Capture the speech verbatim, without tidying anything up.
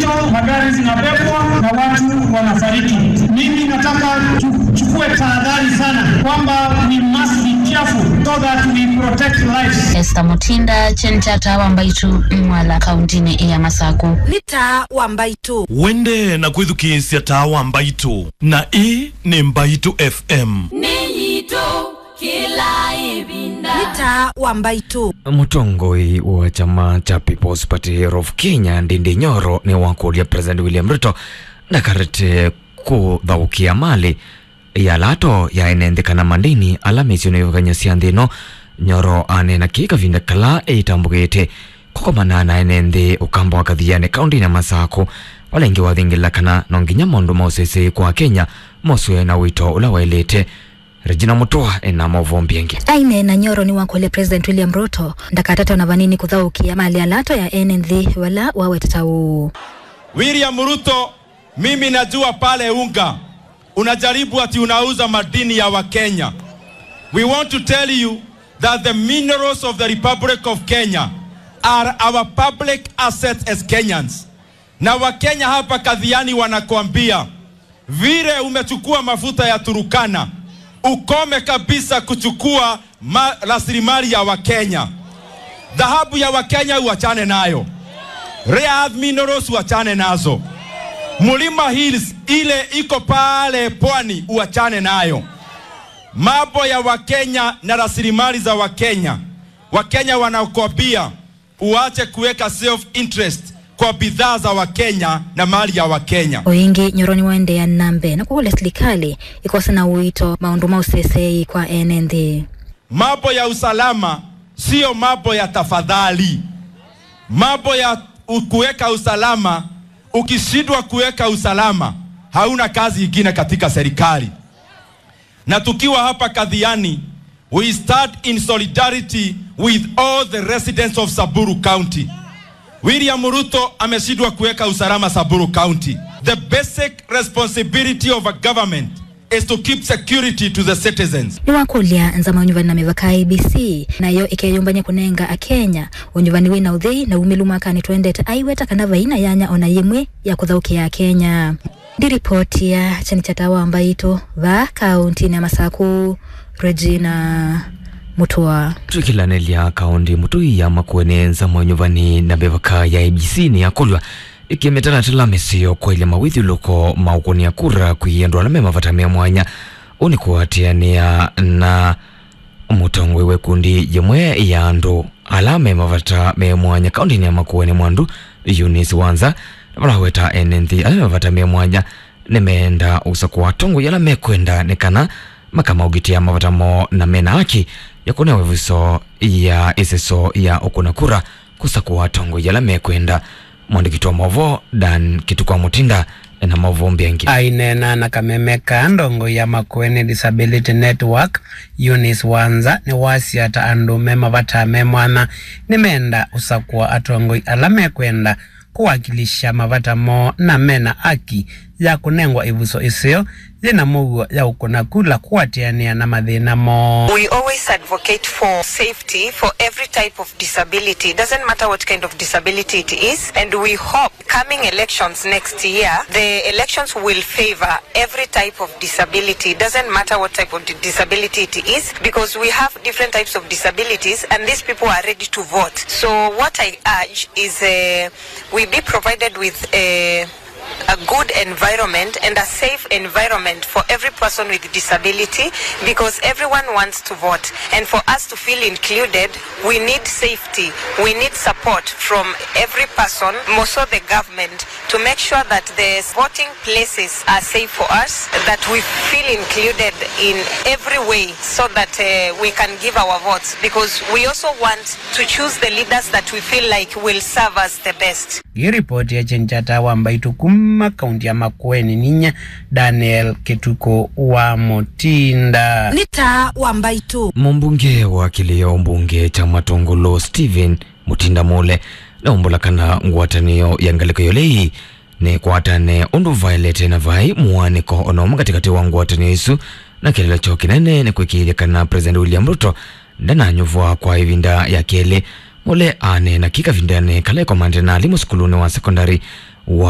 Magari zinabebwa na watu wanafariki. Mimi nataka tuchukue tahadhari sana kwamba we must be careful so that we protect lives. Esther Mutinda, kyeni kya Taa wa Mbaitũ, Mwala, kauntinĩ ya Masaku. Nĩ Taa wa Mbaitũ. Wende na kwĩthukĩĩsya Taa wa Mbaitũ, na ĩĩ nĩ Mbaitũ F M. Nĩ yitũ. Kĩla ĩvinda. Nĩ Taa wa Mbaitũ. Mũtongoi wa kyama kya People's Party of Kenya, Ndindi Nyoro, nĩwakũlya President William Ruto ndakarete kũthaũkĩa malĩ ya lato ya ene nthĩ kana mandini ala mĩsyĩ nĩvakany'a sya nthĩ ĩno. Nyoro aneena kĩĩ kavinda kala ĩtambũkĩte kũkomana na ene nthĩ ũkamba wa Kathiani kaũntĩnĩ ya Masakũ, vala ĩngĩ wathingĩla kana no nginya maũndũ ma ũseseĩ kwa Kenya moswe na ũito ũla waĩlĩte. Regina Mutua ena maũvoo mbingĩ. Aineena, Nyoro nĩwakũlya President William Ruto ndakatate ona vanini kũthaũkĩa malĩ ya lato ya ene nthĩ, vala waweteta ũũ. William Ruto, mimi najua pale Unga unajaribu ati unauza madini ya Wakenya. We want to tell you that the minerals of the Republic of Kenya are our public assets as Kenyans. Na Wakenya hapa Kathiani wanakuambia, vile umechukua mafuta ya Turukana, ukome kabisa kuchukua ma-, rasilimali ya Wakenya. Dhahabu ya Wakenya uachane nayo. Rare earth minerals uachane nazo. Mulima Hills ile iko pale pwani uachane nayo. Mambo ya Wakenya na rasilimali za Wakenya, Wakenya wanakuambia, uache kuweka self interest kwa bidhaa za Wakenya na mali ya Wakenya. O ĩngĩ, Nyoro nĩwaendeea na mbee na kũkũlya silikalĩ ĩkose na ũito maũndũ ma ũseseei kwa ene nthĩ. Mambo ya usalama sio mambo ya tafadhali. Mambo ya u-, kuweka usalama, ukishindwa kuweka usalama, hauna kazi ingine katika serikali. Na tukiwa hapa Kathiani, we stand in solidarity with all the residents of Samburu County. William Ruto ameshindwa kuweka usalama Samburu County. The basic responsibility of a government is to keep security to the citizens. Nĩwakũlya nzama ya ũnyuvani na mĩvaka, I E B C, nayo ĩkeyũmbany'a kũnenga Akenya ũnyuvani wĩ na ũthei na umĩlu mwakanĩ twendete, aiweta kana vai na yanya ona yĩmwe ya kũthaũkĩa Akenya. Ndiripoti ya kyeni kya Taa wa Mbaitũ vaa kaũntĩnĩ ya Masakũ, Regina Mutua. Twĩkĩlanĩlya kaũntĩ mũtũi ya Makueni, nzama ya ũnyuvani na mĩvaka ya I E B C nĩyakũlw'a ĩkĩmĩtalatala mĩseo kwaĩlya mawĩthyũlũko ma ũkũnĩa kura kwĩ andũ ala me mavata me mwanya. Ũũ nĩ kũatĩanĩa na mũtongoi wa ĩkundi yĩmwe ya andũ ala me mavata me mwanya kaũntĩnĩ ya Makueni, Mwandu Eunice Wanza, na vala aweta ene nthĩ ala me mavata me mwanya nĩmeenda ũsakũa atongoi ala mekwenda nĩ kana makamaũgitĩa mavata moo na mena haki ya kũnewa ĩvuso ya ĩseso ya ũkũna kura kũsakũa atongoi ala mekwenda. Mwandĩki witũ wa maũvoo Dan Kĩtukũ wa Mũtinda ena maũvoo mbingĩ. Aineena na kameme ka ndongoi ya Makueni Disability Network, Eunice Wanza, nĩwasya ta andũ me mavata me mwanya nĩmeenda ũsakũa atongoi ala mekwenda kũwakilisha mavata moo na mena haki ya kũnengwa ĩvuso ĩseo yĩna mũuo ya ũkũna kula kũatĩanĩa na mathĩna moo. We always advocate for safety for every type of disability. It doesn't matter what kind of disability it is, and we hope coming elections next year, the elections will favor every type of disability. It doesn't matter what type of di-, disability it is, because we have different types of disabilities, and these people are ready to vote. So what I urge is, uh, we be provided with a, a good environment and a safe environment for every person with disability, because everyone wants to vote. And for us to feel included, we need safety, we need support from every person, more so the government, to make sure that the voting places are safe for us, that we feel included in every way so that, uh, we can give our votes, because we also want to choose the leaders that we feel like will serve us the best. Ngĩripoti ya kyeni kya Taa wa Mbaitũ kuma kaunti ya Makueni, ninyie Daniel Kĩtukũ wa Mũtinda. Nĩ Taa wa Mbaitũ. Mũmbunge wa kĩlĩo mbunge kya Matũngũlũ Stephen Mũtinda Mũle nĩwaumbũla kana ngwatanĩo ya ngalĩko ya ũlei nĩkwatane ũndũ vaĩlĩte na vai mũaanĩko ona ũmwe katĩkatĩ wa ngwatanĩo isu, na kĩeleelo kyoo kĩnene nĩ kwĩkĩĩthya kana President William Ruto ndananyuvwa kwa ĩvinda ya kelĩ. Mũle aneena kĩĩ kavindanĩ kala ĩkomandĩte na alimũ sukulunĩ wa sekondalĩ wa